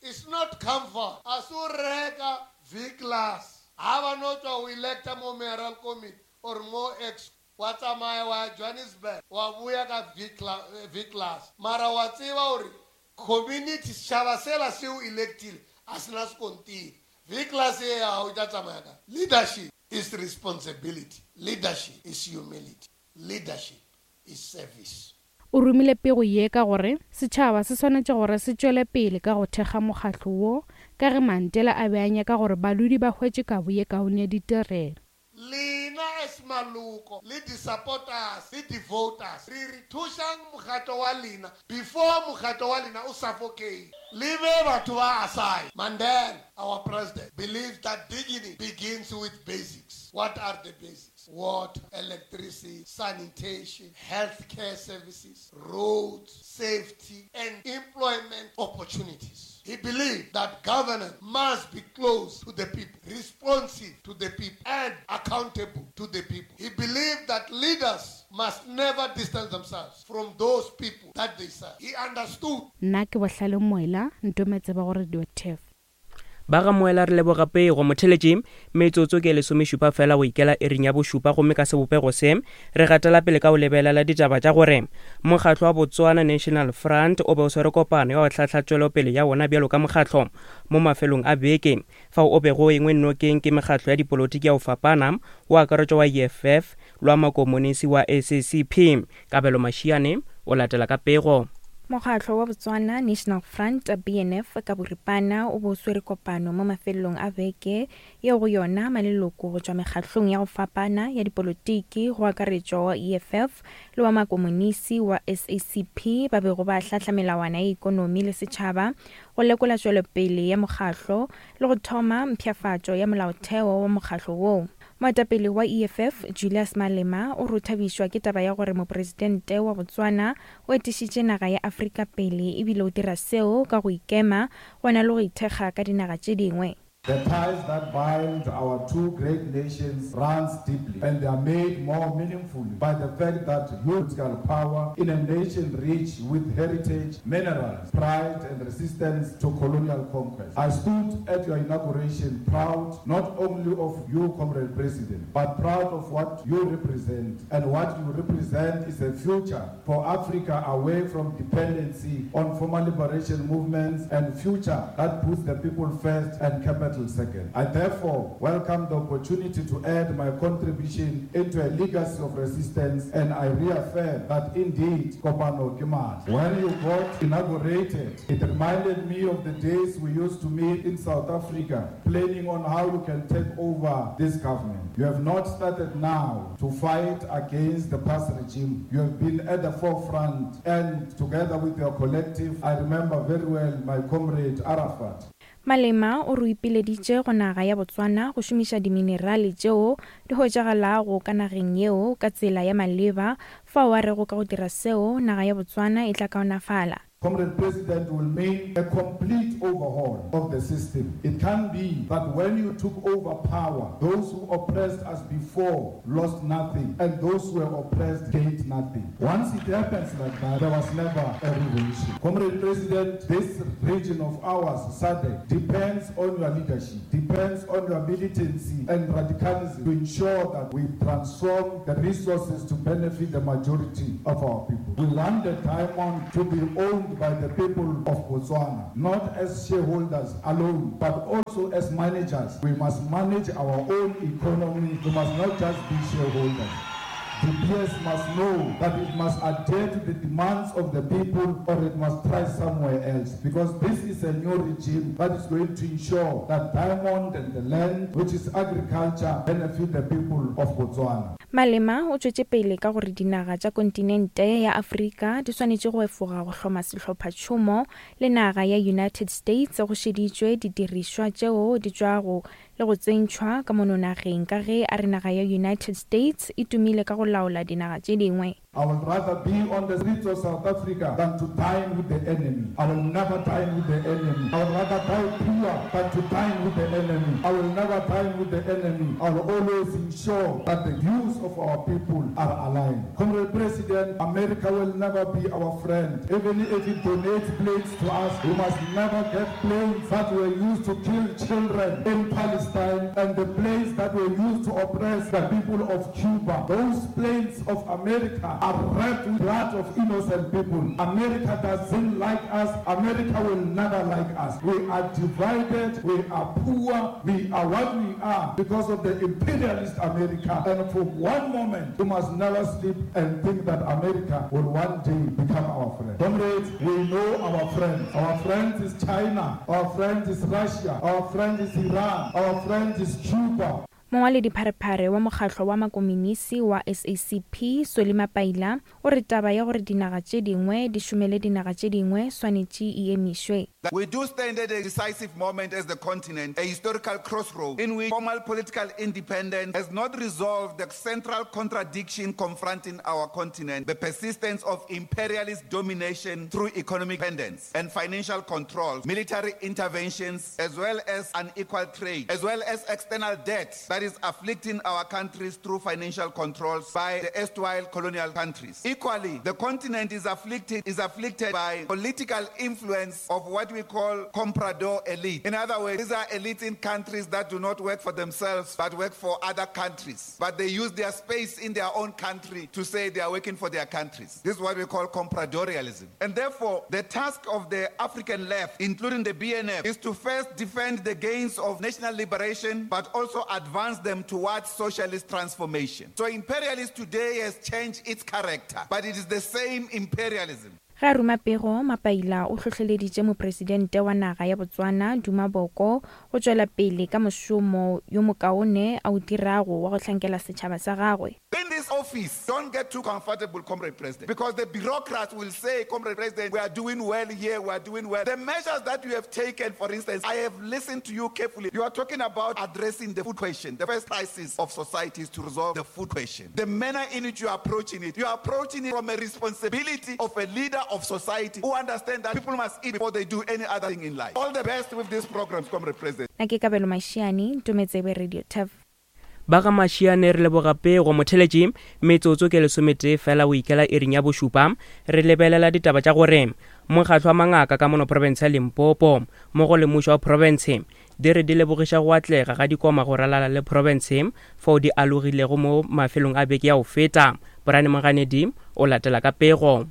is not comfort. Asureka V-class. Have not we elect a more mayoral committee or more ex. Wa tsamaya wa ya Johannesburg, wa buya ka V-class. Mara wa tseba hore community setjhaba sela seo electile a sena sekontiri. V-class e ya hao e tla tsamaya ka. Leadership is responsibility. Leadership is humility. Leadership is service. O romile pego ye ka gore setšhaba se swanetše gore se tšwele pele ka go thekga mokgatlo wo ka ge Mandela a be a nyaka gore badudi ba hwetše kabo ye kaone ya ditirelo. Lena as maloko le di-supporters le di-voters re re thušang mokgatlo wa lena before mokgatlo wa lena o suffocate. Le be batho ba aside. Mandela, our president, believes that dignity begins with basics. What are the basics? Water, electricity, sanitation, healthcare services, roads, safety, and employment opportunities. He believed that governance must be close to the people, responsive to the people, and accountable to the people. He believed that leaders must never distance themselves from those people that they serve. He understood. Nna ke Bohlale Moela, ntometse ba go Radio T E F. Ba ga Moela re leboga pego motheletši metsotso ke lesomešupa fela go ikela ering ya bošupa gomme ka sebopego se re gatela pele ka go lebelela ditaba tša gore mokgatlo wa Botswana National Front o be o swere kopano ya go hlahla tšwelopele ya wona bjalo ka mokgatlo mo mafelong a beke fao o bego engwe nokeng ke mekgatlo ya dipolotiki ya go fapana o akaretšwa wa E F F le wa makomonisi wa S A C P. Kabelo Mashiane o latela ka pego. Mokgatlo wa Botswana National Front B N F ka boripana o bo swere kopano mo mafelong a beke yeo go yona maleloko go tšwa mekgatlong ya go fapana ya dipolotiki go akaretšwa wa E F F le wa makomonisi wa S A C P ba bego ba hlahla melawana ya ikonomi le setšhaba go lekola tšwelopele ya mokgatlo le go thoma mpshafatšo ya molaotheo wa mokgatlo woo. Moetapele wa E F F Julius Malema o rothabišwa ke taba ya gore mopresidente wa Botswana o etišitše naga ya Afrika pele ebile o dira seo ka go ikema gona le go ithekga ka dinaga tše dingwe. The ties that bind our two great nations runs deeply, and they are made more meaningful by the fact that political power in a nation rich with heritage, minerals, pride, and resistance to colonial conquest. I stood at your inauguration proud not only of you, Comrade President, but proud of what you represent. And what you represent is a future for Africa away from dependency on former liberation movements and future that puts the people first and capital second. I therefore welcome the opportunity to add my contribution into a legacy of resistance, and I reaffirm that indeed Kopano ke matla. When you got inaugurated, it reminded me of the days we used to meet in South Africa, planning on how you can take over this government. You have not started now to fight against the past regime. You have been at the forefront, and together with your collective, I remember very well my comrade Arafat. Malema o re ipileditše go naga ya Botswana go šomiša diminerale tšeo di hwetšagalago ka nageng yeo ka tsela ya maleba fao a rego ka go dira seo naga ya Botswana e tla kaonafala. Comrade President, will mean a complete overhaul of the system. It can be that when you took over power, those who oppressed us before lost nothing, and those who were oppressed gained nothing. Once it happens like that, there was never a revolution. Comrade President, this region of ours, SADC, depends on your leadership, depends on your militancy and radicalism to ensure that we transform the resources to benefit the majority of our people. We want the diamond to be owned by the people of Botswana, not as shareholders alone, but also as managers. We must manage our own economy. We must not just be shareholders. The P S must know that it must adhere to the demands of the people, or it must try somewhere else. Because this is a new regime that is going to ensure that diamond and the land, which is agriculture, benefit the people of Botswana. Malema o tšwetše pele ka gore dinaga tša kontinente ya Afrika di swanetše go efoga go hloma sehlophatšhomo le naga ya United States go šeditšwe didirišwa tšeo di tšwago le go tsentšhwa ka mono nageng ka ge a re naga ya United States e tumile ka go laola dinaga tše dingwe. I would rather be on the streets of South Africa than to dine with the enemy. I will never dine with the enemy. I would rather die poor than to dine with the enemy. I will never dine with the enemy. I will always ensure that the views of our people are aligned. Comrade President, America will never be our friend. Even if it donates planes to us, we must never get planes that were used to kill children in Palestine and the planes that were used to oppress the people of Cuba. Those planes of America are wrapped with blood of innocent people. America doesn't like us. America will never like us. We are divided. We are poor. We are what we are because of the imperialist America. And for one moment, we must never sleep and think that America will one day become our friend. Comrades, we know our friends. Our friend is China. Our friend is Russia. Our friend is Iran. Our friend is Cuba. Mongwaledi pharephare wa mokgatlo wa makominisi wa S A C P Solly Mapaila o re taba ya gore dinaga tše dingwe di šomele dinaga tše dingwe swanetše e emišwe. We do stand at a decisive moment as the continent, a historical crossroad in which formal political independence has not resolved the central contradiction confronting our continent, the persistence of imperialist domination through economic dependence and financial controls, military interventions, as well as unequal trade, as well as external debt that is afflicting our countries through financial controls by the erstwhile colonial countries. Equally, the continent is afflicted, is afflicted by political influence of what we call comprador elite. In other words, these are elites in countries that do not work for themselves, but work for other countries. But they use their space in their own country to say they are working for their countries. This is what we call compradorialism. And therefore, the task of the African left, including the B N F, is to first defend the gains of national liberation, but also advance them towards socialist transformation. So imperialism today has changed its character, but it is the same imperialism. Ga ruma pego Mapaila o hlohleleditše mopresidente wa naga ya Botswana Duma Boko go tšwela pele ka mošomo yo mokaone a o dirago wa go hlankela setšhaba sa gagwe. In this office, don't get too comfortable, Comrade President, because the bureaucrats will say, Comrade President, we are doing well here, we are doing well. The measures that you have taken, for instance, I have listened to you carefully. You are talking about addressing the food question. The first crisis of society is to resolve the food question. The manner in which you are approaching it, you are approaching it from a responsibility of a leader of society who understand that people must eat before they do any other thing in life. All the best with these programs, Comrade President. Na ke Kabelo Mashiane, Ntometsebe Radio T E V. Ba ga Mashiane re leboga pego motheletši metsotso ke lesometee fela o ikela iring ya bošupa. Re lebelela ditaba tša gore mokgatlo wa mangaka ka mono province ya Limpopo mmogo le mmušo wa province di re di lebogiša go atlega ga dikoma go ralala le province fao di alogilego mo mafelong a beke ya go feta. Brian Moganedi o latela ka pego.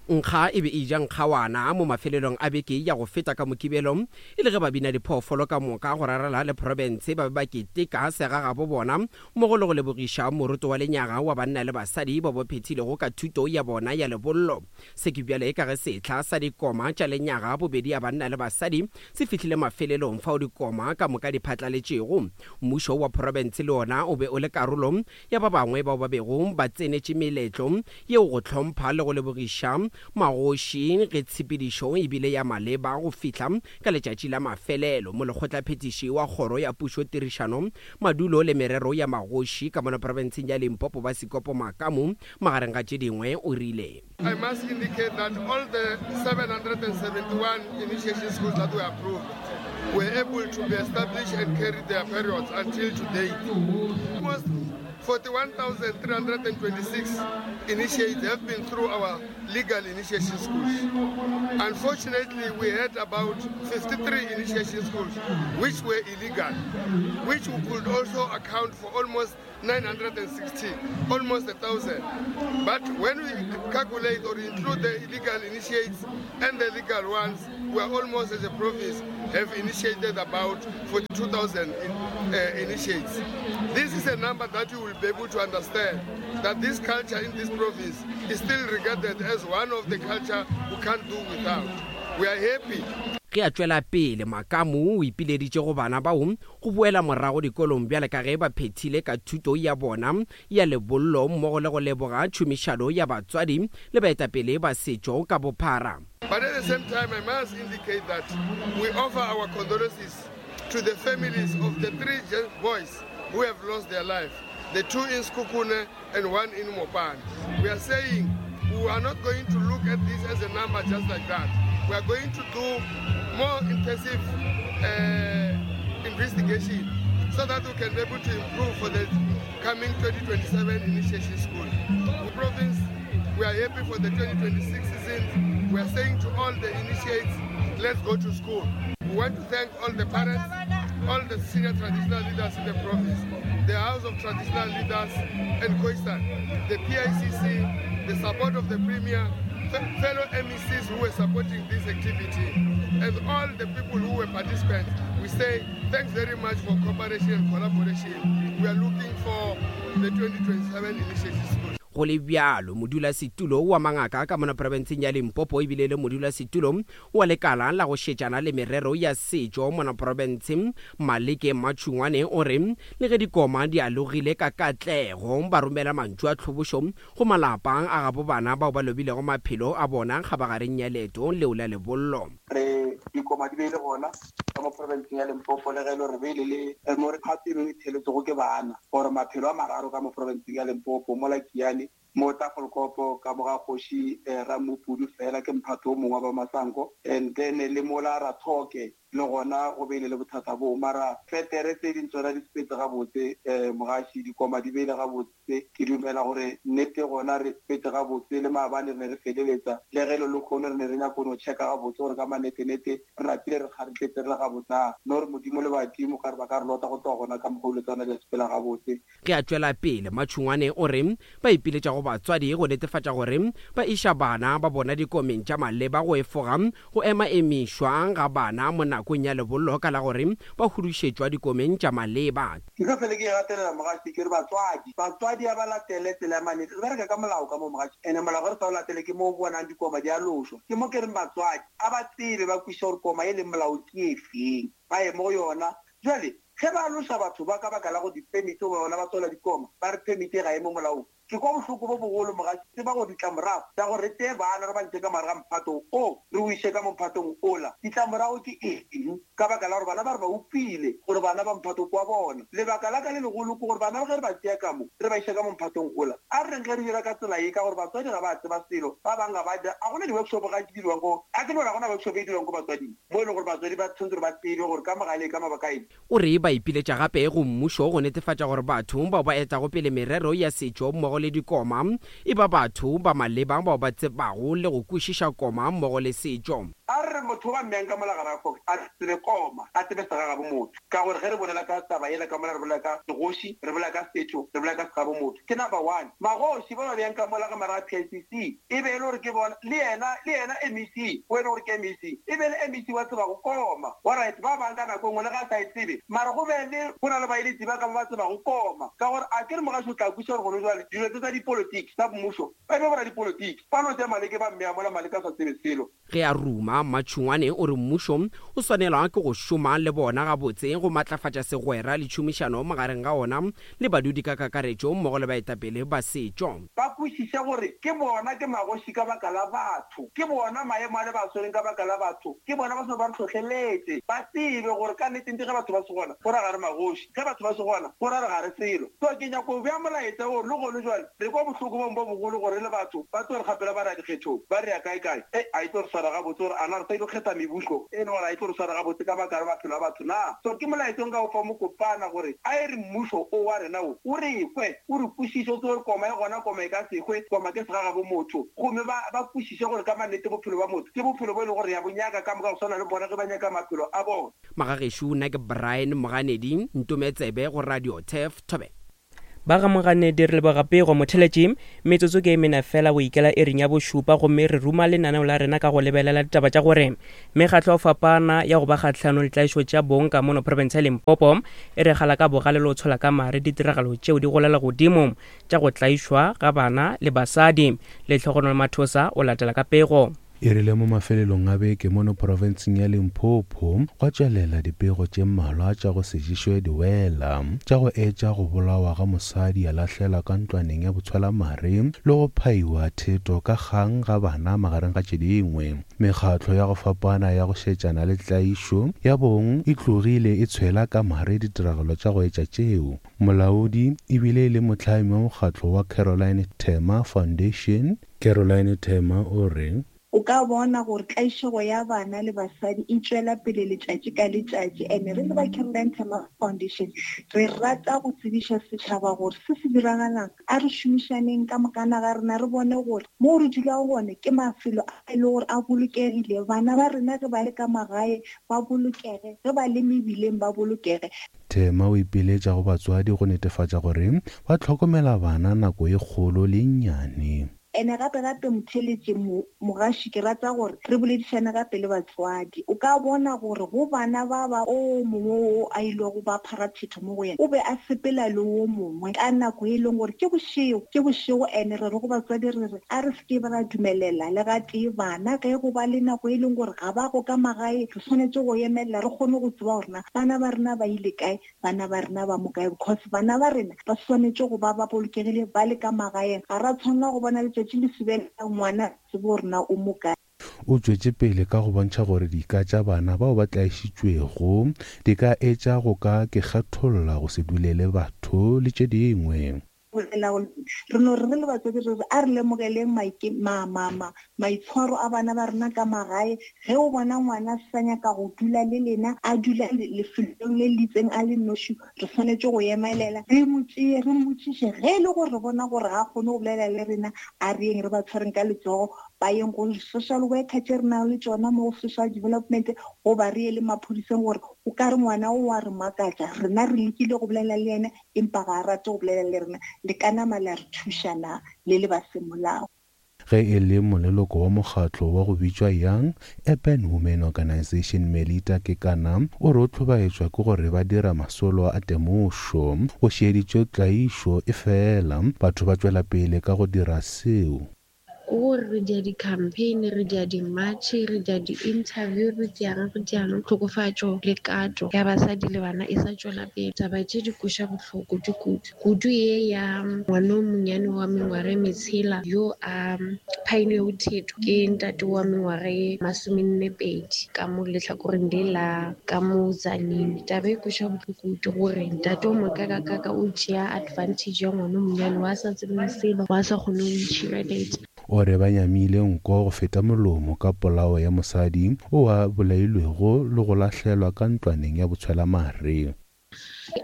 Nkga e be e ja nkgawana mo mafelelong a beke ya go feta ka Mokibelo e le ge ba bina diphoofolo ka moka go rarela le province ba be ba keteka segagabo bona mmogo le go lebogiša moruto wa lenyaga wa banna le basadi ba bo phethilego ka thuto ya bona ya lebollo. Se ke bjale ka ge sehla sa dikoma tša lenyaga bobedi ya banna le basadi se fihlile mafelelong fao dikoma ka moka di phatlaletšego. Mmušo wa province le ona o be o le karolo ya ba bangwe bao ba bego ba tsenetše meletlo yeo go hlompha le go lebogiša magoši ge tshepedišo e bile ya maleba go fihla ka letšatši la mafelelo. Molekgotlaphethiši wa kgoro ya pušo tirišano madulo le merero ya magoši ka mona profenseng ya Limpopo ba Sikopo Makamu magareng ga tše dingwe o rile, I must indicate that all the seven hundred seventy-one initiation schools that were approved were able to be established and carry their periods until today. Almost forty-one thousand three hundred twenty-six initiates have been through our legal initiation schools. Unfortunately, we had about fifty-three initiation schools which were illegal, which we could also account for almost nine hundred sixty, almost a thousand. But when we calculate or include the illegal initiates and the legal ones, we are almost as a province have initiated about forty-two thousand in, uh, initiates. This is a number that you will be able to understand that this culture in this province is still regarded as one of the culture we can't do without. We are happy. Ge a tšwela pele Makamu o ipileditše go bana bao go boela morago dikolong bjale ka ge ba phethile ka thuto ya bona ya lebollo mmogo le go leboga tšhomišano ya batswadi le baetapele ba setšo ka bophara. But at the same time, I must indicate that we offer our condolences to the families of the three boys who have lost their life, the two in Sekhukhune and one in Mopani. We are saying we are not going to look at this as a number just like that. We are going to do more intensive uh, investigation so that we can be able to improve for the coming twenty twenty-seven initiation school. The province, we are happy for the twenty twenty-six season. We are saying to all the initiates, let's go to school. We want to thank all the parents, all the senior traditional leaders in the province, the House of Traditional Leaders and Khoisan, the P I C C, the support of the Premier, fellow M E Cs who were supporting this activity, and all the people who were participants. We say thanks very much for cooperation and collaboration. We are looking for the twenty twenty-seven initiation school. Go le bjalo modulasetulo wa mangaka ka mona profenseng ya Limpopo ebile le modulasetulo wa lekala la go šetšana le merero ya setšo mona profenseng Maleke Matšhungwane o re le ge dikoma di alogile ka katlego ba romela mantšu a tlhobošo go malapa a gabo bana bao ba lobilego maphelo a bona kgabagareng ya leeto leo la lebollo. Re dikoma di beile gona ka mo profenseng ya Limpopo le ge e le gore beile le mo re phato e mengwe e theletsego ke bana gore maphelo a mararo ka mo profenseng ya Limpopo mola Kiane mo Tafelkopo ka moga kgoši Ramopudu fela ke mphato o mongwe wa ba Masango, and then le mola Rathoke le gona go beile le bothata bo mara fetere tse ding tsona di sepetse gabotse. um mogaši dikoma di beile gabotse, ke dumela gore nnete gona re sepetse gabotse le maabane re ne re feleletsa le ge le lekgono re ne re nyako no checka gabotse gore ka manetenete re napile re kgaretletse re le gabotse na no re modimo le badimo ka re ba ka re lota go tloga gona ka mokgwa o le tsona di a sepela gabotse. Ge a tšwela pele Matšhungwane o re ba ipiletša go batswadi go netefatša gore ba iša bana ba bona dikomeng tša maleba go efoga go ema emišwa ga bana mo nakong ya lebollo ka la gore ba hudušetšwa dikomeng tša maleba. Ke ka fele ke gatelela mogaši ke re batswadi batswadi a ba latele tsela ya manete, re bereka ka molao ka mo mogaši ene molao ge re sa o latele ke mo o bonang dikoma di a lošwa. Ke mo ke reng batswadi a ba tsebe ba kwešiša gore koma e leng molao ke e feng ba ye mo go yona. Jwale ge ba loša batho ba ka baka la go di-permit goba bona ba tswela dikoma ba re permit ga e mo molaong, ke kwa bohloko bo bogolo mogaši tseba gore ditlamorago tsa gore re tseye bana re ba ntshe ka mare ga mphato o re o iše ka mo mphatong ola, ditlamorago ke eng ka baka la gore bana ba re ba upile gore bana ba mphato kwa bona. Lebaka la ka le legolo ke gore bana ge re ba tšea ka mo re ba iše ka mo mphatong ola, a re reng ge re dira ka tsela ye ka gore batswadi ga ba tseba selo, ba bangwe ga ba dira a gona di-workshop ga di dirwang ko a ke no gore ga gona workshop e dirwang ko batswading mo e leng gore batswadi ba tshwanetse gore ba tsebe gore ka mogale ka mabaka eng. O re ba ipiletša gape go mmušo go netefatša gore batho bao ba etago pele merero ya setšo mmogo le dikoma e ba batho ba maleba bao ba tsebago le go kwešiša koma mmogo le setšo. A re motho ba mmeyang ka mola gare ga kgoši a tsebe koma, a tsebe segagabo motho, ka gore ge re bolela ka taba yela ka mola re bolela ka segoši, re bolela ka setšo, re bolela ka segabo motho. Ke number one. Magoši ba ba beyang ka mola ga mara ga P I C C e be e le gore ke bona le yena le yena M E C o e le gore ke M E C e be le M E C wa tseba go koma. Alright, ba bang ka nako e nngwe le ga a sa e tsebe mara go be le go na le baeletši ba ka ba ba tseba go koma, ka gore a ke re mogaši o tla kwešiša gore gone jwale dilo Dilo tse tsa dipolotiki tsa mmušo ba ebe bora dipolotiki ba no tša Maleke ba mmea mola Maleke a sa tsebe selo. Ge a ruma, Matšhungwane o re mmušo o swanelwa ke go šoma le bona gabotse go matlafatša segwera le tšhomišano magareng ga ona le badudi ka kakaretšo mmogo le baetapele ba setšo. Ba kwešiše gore ke bona ke magoši ka baka la batho, ke bona maemo a le ba swereng ka baka la batho, ke bona ba seno ba re hlohleletše. Ba tsebe gore ka nnete-nnete ge batho ba se gona go ra ga re magoši, ge batho ba se gona go ra re ga re selo. So ke nyako go bea molaetša wo le gone jwale re kwa bohloko bong bo bogolo gore le batho ba tlo re kgapela ba re ya dikgethong, ba re ya kae-kae, e a e tlo re swara gabotse gore ana re sa ile kgetha mebušo e le gore a e tlo re swara gabotse ka baka la maphelo a batho na. So ke molaetša o nka o fa mokopana gore a e re mmušo o wa rena wo o re kwe, o re kwešiše, o tsebe gore koma e gona, koma e ka se hwe, koma ke segagabo motho, gomme ba ba kwešiše gore ka mannete bophelo ba motho ke bophelo bo e lego gore ya bo nyaka ka moka go swana le bona ge ba nyaka maphelo a bona. Magagešo, nna ke Brian Moganedi, Ntometsebe go Radio Turf Thobela. Ba ga Moganedi re leboga pego motheletši. Metsotso ke e mene fela go ikela iring ya bošupa, gomme re ruma lenaneo la rena ka go lebelela ditaba tša gore mekgatlo ya go fapana ya go ba kgahlanong le tlaišo tša bong ka mono profense ya Limpopo e re gala ka bogale le go tshola ka mare ditiragalo tšeo di golela godimo tša go tlaišwa ga bana le basadi. Lehlogonolo Mathosa o latela ka pego. E rile mo mafelelong a beke mono profenseng ya Limpopo gwa tšwelela dipego tše mmalwa tša go se ješwe diwela, tša go etša go bolawa ga mosadi a lahlelwa ka ntlwaneng ya botshwelamare le go phaiwa theto ka kgang ga bana magareng ga tše dingwe. Mekgatlo ya go fapana ya go šetšana le tlaišo ya bong e tlogile e tshwela ka mare ditiragalo tša go etša tšeo. Molaodi ebile e le mohlami wa mokgatlo wa Caroline Tema Foundation, Caroline Tema o re o ka bona gore tlaišego ya bana le basadi e tšwela pele letšatši ka letšatši. Ene re le ba Caroline Tema Foundation re rata go tsebiša setšhaba gore se se diragalang, a re šomišaneng ka mokana ga rena, re bone gore mo re dulago gone ke mafelo a e le gore a bolokegile, bana ba rena ge ba le ka magae ba bolokege, ge ba le mebileng ba bolokege. Tema o ipiletša go batswadi go netefatša gore ba hlokomela bana nako e kgolo le nnyane. Ene gape gape motheletše mogaši ke rata gore re boledišane gape le batswadi. O ka bona gore go bana ba ba o mongwe o a ilego ba pharathetho mo go yena, o be a sepela le o mongwe ka nako e leng gore ke bošego, ke bošego. Ene re re go batswadi re re a re se ke ra dumelela le gatee bana ge go ba le nako e leng gore ga ba go ka magae, re swanetše go emelela re kgone go tseba gore na bana ba rena ba ile kae, bana ba rena ba mo kae, because bana ba rena ba swanetše go ba ba bolokegile ba le ka magaeng. Ga ra tshwanela go bona letšatši le sebela ngwana tsebe gore na o mo kae. O tšwetše pele ka go bontšha gore dika tša bana bao ba tlaišitšwego di ka etša go ka ke kgetholla, go se dulele batho le tše dingwe. Re no re re le batswadi re re a re lemogeleng maitshwaro a bana ba rena ka magae. Ge o bona ngwana a sa nyaka go dula le lena, a dula lefelong le le itseng a le noši, re swanetše go emelela re mo tšee, re mmotšiše. Ge e le gore re bona gore ga a kgone go bolela le rena, a re yeng re ba tshwareng ka letsogo, ba yeng go social worker tše re nang le tšona mo go social development, goba re ye le maphodiseng gore o ka re ngwana o wa re makatša, rena re lekile go bolela le yena empa ga a rate go bolela le rena, le ka nama la re thuša na le le ba semolao. Ge e le moleloko wa mokgatlo wa go bitšwa Young Urban Women Organization Melita Kekana o re o hlobaetšwa ke gore ba dira masolo a temošo go šeditšwe tlaišo e fela batho ba tšwela pele ka go dira seo. Gore re dia di-campaign, re dia di-march, re dia di-interview, re diang re diang, tlhokofatšo le kato ya basadi le bana e sa tšwela pele. Taba tše di kweša bohloko di kudu kudu ye ya ngwana o monnyane wa mengwaga e metshela yo a phailwego theto ke ntate wa mengwaga e masomenne pedi ka mo lehlakoreng le la ka mo Tzaneen. Taba e kweša bohloko kudu gore ntate o mokakakaka o tšea advantage ya ngwana o monnyane wa sa tsebeng selo, wa sa kgone go itšhireletša. O re ba nyamile nko go feta molomo ka polao ya mosadi o a bolailwego le go lahlelwa ka ntlwaneng ya botshwelamare.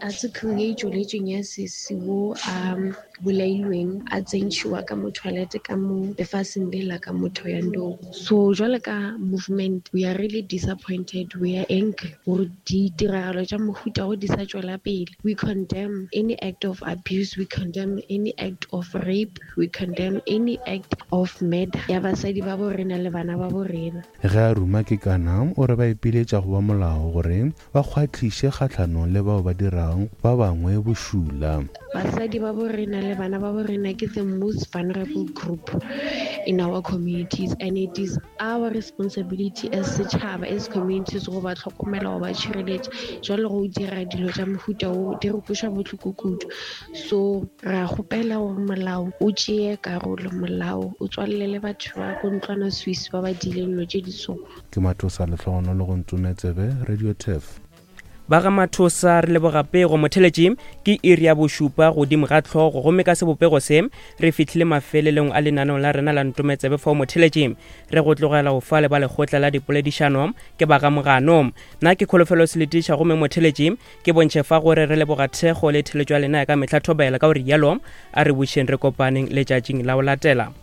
Article ye e tšweletšeng ya sesi wo a bolailweng a tsentšhiwa ka mo toilet ka mo lefaseng le la ka mo Thohoyandou. So jwale ka movement we are really disappointed, we are angry gore ditiragalo tša mohuta wo di sa tšwela pele. We condemn any act of abuse, we condemn any act of rape, we condemn any act of murder ya basadi ba bo rena le bana ba bo rena. Ge a ruma Kekana o re ba ipiletša go ba molao gore ba kgwatliše kgahlanong le bao ba dira dirang ba bangwe bošula. Basadi ba bo rena le bana ba bo rena ke the most vulnerable group in our communities, and it is our responsibility as setšhaba, as communities, go ba tlhokomela, go ba tšhireletša. Jwale go dira dilo tša mohuta wo di re kweša bohloko kudu. So re a kgopela gore molao o tšeye karolo, molao o tswalele batho ba ko ntlwana Swiss ba ba diileng dilo tše di so. Ke Mathosa Lehlogonolo go Ntometsebe, Radio Turf. Ba ga Mathosa re leboga pego. Motheletši ke iri ya bošupa godimo ga tlhogo, gomme ka sebopego se re fihlile mafelelong a lenaneo la rena la Ntometsebe. Fao motheletši re go tlogela go fa le ba lekgotla la dipoledišano ke ba ga Mogano. Nna ke Kholofelo Seletiša, gomme motheletši ke bontšhe fa gore re leboga thekgo le theletšo ya lena ya ka mehla. Thobela ka gore yalo a re bušeng re kopaneng letšatšing la go latela.